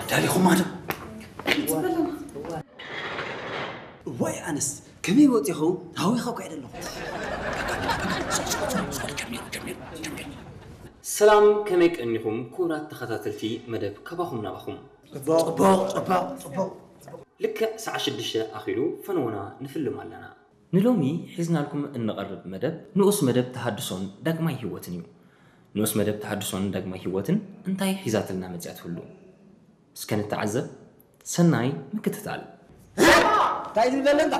ዳሊኹማ ዶ? እዋይ ኣነስ ከመይ ወፂኹ? ሃዊኸ እኮ እየ ዘለኹ። ሰላም፣ ከመይ ቀኒኹም ክቡራት ተኸታተልቲ መደብ ካባኹም ናባኹም? ፅቡቕ ፅቡቕ ፅቡቕ። ልክዕ ሰዓት ሽዱሽተ ኣኺሉ ፈነወና ንፍልም ኣለና። ንሎሚ ሒዝናልኩም እንቐርብ መደብ ንኡስ መደብ ተሃድሶን ዳግማይ ህይወትን እዩ። ንኡስ መደብ ተሃድሶን ዳግማይ ህይወትን እንታይ ሒዛትልና መፅያ ትህሉ? እስከ ንተዓዘብ። ሰናይ ምክትታል። እንታይ ዝብል ዘሎ እንታ?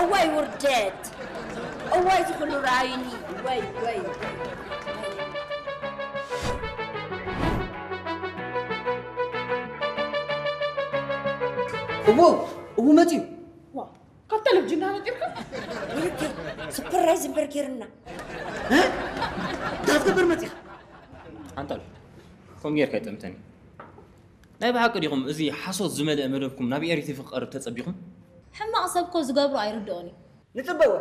እዋይ ውርደት፣ እዋይ ዝኹሉ ራዩኒ። ወይ ወይ እዎ እዎ መፅዩ። ካብ ቴሌቪዥን ዳነጢርካ ስፕራይዝ እምበር ጌርና። እንታይ ክትገብር መፂኻ? ኣንጣል፣ ከምኡ ጌርካ ይጠምተኒ። ናይ ብሓቂ ዲኹም እዚ ሓሶት ዝመልአ መደብኩም ናብ ኤሪ ቲቪ ክቐርብ ተጸቢኹም? ሕማቕ ሰብ እኮ ዝገብሮ ኣይርድኦን እዩ። ንፅበወ።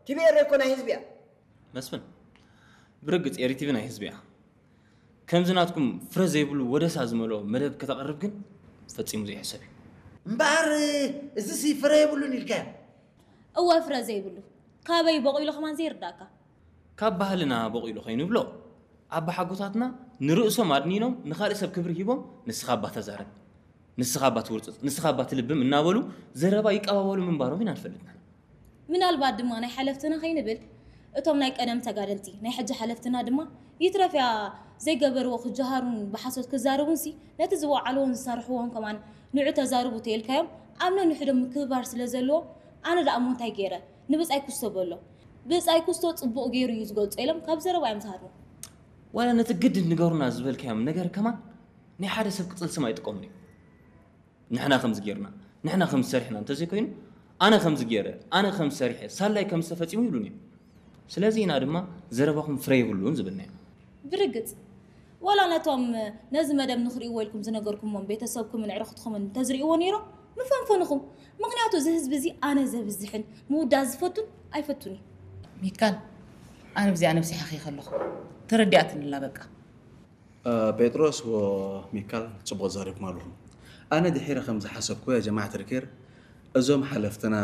ቲቪ ኤሪ እኮ ናይ ህዝቢ እያ። መስፍን፣ ብርግጽ ኤሪ ቲቪ ናይ ህዝቢ እያ። ከምዚ ናትኩም ፍረ ዘይብሉ ወደሳ ዝመልኦ መደብ ከተቕርብ ግን ፈጺሙ ዘይሕሰብ እዩ። እምበኣር እዚሲ ፍረ የብሉን ኢልካዮ። እወ ፍረ ዘይብሉ ካበይ በቒሉ ከማን ዘይርዳእካ። ካብ ባህልና በቒሉ ከይንብሎ ኣባሓጎታትና ንርእሶም ኣድኒኖም ንኻልእ ሰብ ክብሪ ሂቦም ንስኻ እባ ተዛረብ፣ ንስኻ እባ ትውርጽጽ፣ ንስኻ እባ ትልብም እናበሉ ዘረባ ይቀባበሉ ምንባሮም ኢና ንፈልጥ ንሕና። ምናልባት ድማ ናይ ሓለፍትና ከይንብል እቶም ናይ ቀደም ተጋደልቲ ናይ ሕጂ ሓለፍትና ድማ ይትረፍያ ዘይገበርዎ ክጀሃሩን ብሓሶት ክዛረቡንሲ ነቲ ዝወዓልዎን ዝሰርሕዎን ከማን ንዑ ተዛርቡ ተይልካዮም ኣብ ነንሕዶም ምክብባር ስለ ዘለዎ ኣነ ደኣ እሞ እንታይ ገይረ ንብጻይ ኩስቶ በሎ ብጻይ ኩስቶ ጽቡቕ ገይሩ እዩ ዝገልጾ ኢሎም ካብ ዘረባ እዮም ዝሃርሙ። ዋላ ነቲ ግድን ንገሩና ዝበልካዮም ነገር ከማን ናይ ሓደ ሰብ ቅጽል ስም ኣይጥቀሙን እዮም። ንሕና ከምዚ ጌርና፣ ንሕና ከምዚ ሰሪሕና እንተዘይኮይኑ ኣነ ከምዚ ገይረ፣ ኣነ ከምዚ ሰሪሐ፣ ሳላይ ከምዚ ተፈጺሙ ይብሉኒ እዮም። ስለዚ ኢና ድማ ዘረባኹም ፍረ የብሉን ዝብልናዮ። ብርግጽ ወላ ነቶም ነዚ መደብ ንኽርእይዎ ኢልኩም ዝነገርኩሞም ቤተሰብኩምን ዕርኽትኹምን እንተዝርእይዎ ነይሮም ምፈንፈንኹም። ምኽንያቱ እዚ ህዝቢ እዚ ኣነ ዘብዝሕን ምውዳእ ዝፈቱን ኣይፈቱን እዩ። ሚካል፣ ኣነ ብዚኣ ነብሰይ ሓኺኸ ኣለኹ። ተረዲኣትኒ ኣላ በቃ። ጴጥሮስ ወሚካል ጽቡቕ ተዛሪብኩም ኣለኹም። ኣነ ድሒረ ከም ዝሓሰብኩ ያ ጀማዓት ርኬር እዞም ሓለፍትና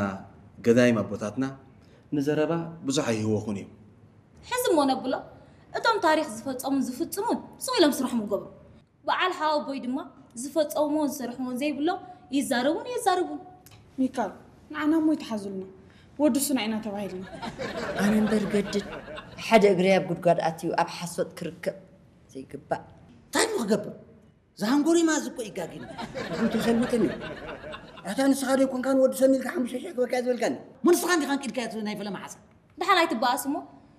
ገዳይም ኣቦታትና ንዘረባ ብዙሕ ኣይህወኹን እዮም። ሕዚ እሞ ነብሎ እቶም ታሪኽ ዝፈጸሙን ዝፍጽሙን ስቕ ኢሎም ስርሖም ይገብሩ። በዓል ሓወቦይ ድማ ዝፈጸምዎን ዝሰርሕዎን ዘይብሎም ይዛረቡን የዛርቡን። ሚካል ንዓና እሞ ይትሓዙልና ወዲ ሱና ኢና ተባሂልና። ኣነ እምበር ገድድ ሓደ እግረይ ኣብ ጉድጓድ ኣትዩ ኣብ ሓሶት ክርከብ ዘይግባእ። እንታይ እሞ ክገብር? ዝሃንጎሪማ እዚ እኮ ይጋግን። እንተ ሰልምጥኒ ኣታ ንስኻ ዶ ይኮንካ ንወዲ ሰኒ ኢልካ ሓሙሽተ ሽሕ ክበካ ዝበልካኒ? ሞ ንስኻ እንዲኻ እንቂድካዮ ናይ ፈለማ ሓሳ። ደሓን ኣይትበኣስ እሞ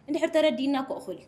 እንድሕር ተረዲእና እኮ እኹል እዩ።